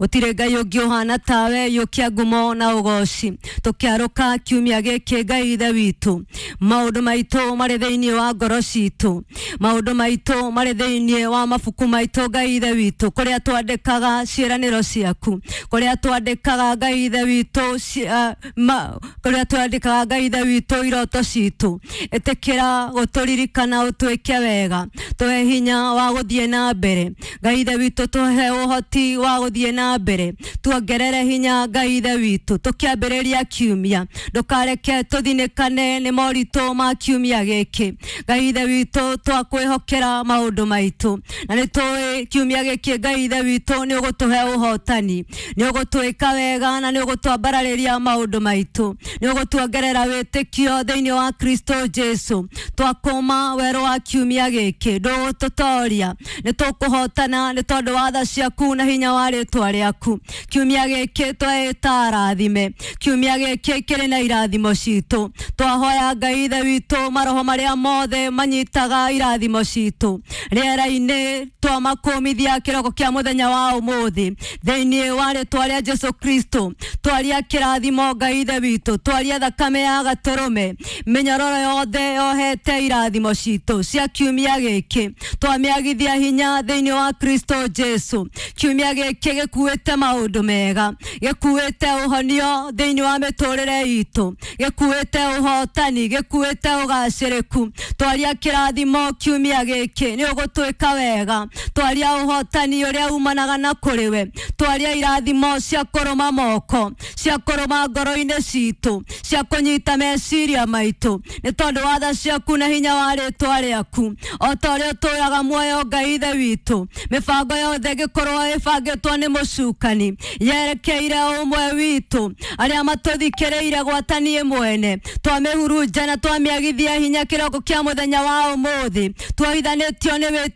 Gũtirĩ Ngai ũngĩ ũhana tawe, yũkia ngumo na ũgoci. Tũkĩarũka kiumia gĩkĩ, Ngai Ithe witũ, maũndũ maitũ marĩ thĩinĩ wa ngoro citũ, maũndũ maitũ marĩ thĩinĩ wa mabuku maitũ, Ngai Ithe witũ, kũrĩa twandĩkaga ciĩranĩro ciaku, kũrĩa twandĩkaga, Ngai Ithe witũ, kũrĩa twandĩkaga, Ngai Ithe witũ, iroto citũ. Ĩtĩkĩra gũtũririkana, ũtwĩke wega, tũhe hinya wa gũthiĩ na mbere, Ngai Ithe witũ, tũhe ũhoti wa gũthiĩ na mbere, tuongerere hinya, Ngai Ithe witũ. Tũkĩambĩrĩria kiumia, ndũkareke tũthinĩkane nĩ moritũ ma kiumia gĩkĩ. Ngai Ithe witũ, twakwĩhokera maũndũ maitũ na nĩ tũĩ kiumia gĩkĩ, Ngai Ithe witũ, nĩ ũgũtũhe ũhotani, nĩ ũgũtwĩka wega na nĩ ũgũtwambararĩria maũndũ maitũ, nĩ ũgũtuongerera wĩtĩkio thĩinĩ wa Kristo Jesu. Twakũma werũ wa kiumia gĩkĩ, ndũgũtũtoria, nĩ tũkũhotana nĩ tondũ wa tha ciaku na hinya wa rĩtwa rĩaku. Kiumia gĩkĩ tweĩta arathime, kiumia gĩkĩ kĩrĩ na irathimo citũ. Twahoya, Ngai Ithe witũ, maroho marĩa mothe manyitaga irathimo citũ rĩera-inĩ twamakũmithia kĩroko kĩa mũthenya wa ũmũthĩ thĩinĩ wa rĩtwa rĩa Jesu Kristo. Twaria kĩrathimo, Ngai Ithe witũ, twaria thakame ya gatũrũme, mĩnyororo yothe yohete irathimo citũ cia kiumia gĩkĩ twamĩagithia hinya thĩinĩ wa Kristo Jesu. Kiumia gĩkĩ gĩkuĩte maũndũ mega, gĩkuĩte ũhonio thĩinĩ wa mĩtũrĩre itũ, gĩkuĩte ũhotani, gĩkuĩte ũgacĩrĩku. Twaria kĩrathimo kiumia gĩkĩ, nĩ ũgũtwĩka wega. Twaria ũhotani ũrĩa umanaga na kũrĩ we. Twaria irathimo cia kũrũma moko, cia kũrũma ngoro-inĩ citũ, cia kũnyita meciria maitũ, nĩ tondũ wa tha ciaku na hinya wa rĩtwa rĩaku. O ta ũrĩa ũtũraga muoyo, Ngai Ithe witũ, mĩbango yothe ĩngĩkorwo ĩbangĩtwo nĩ mũcukani yerekeire ũmwe witũ arĩa matũthikĩrĩire gwata niĩ mwene, twamĩhurunja na twamĩagithia hinya kĩroko kĩa mũthenya wa ũmũthĩ. Tuohithanĩtio nĩ wĩtĩkio.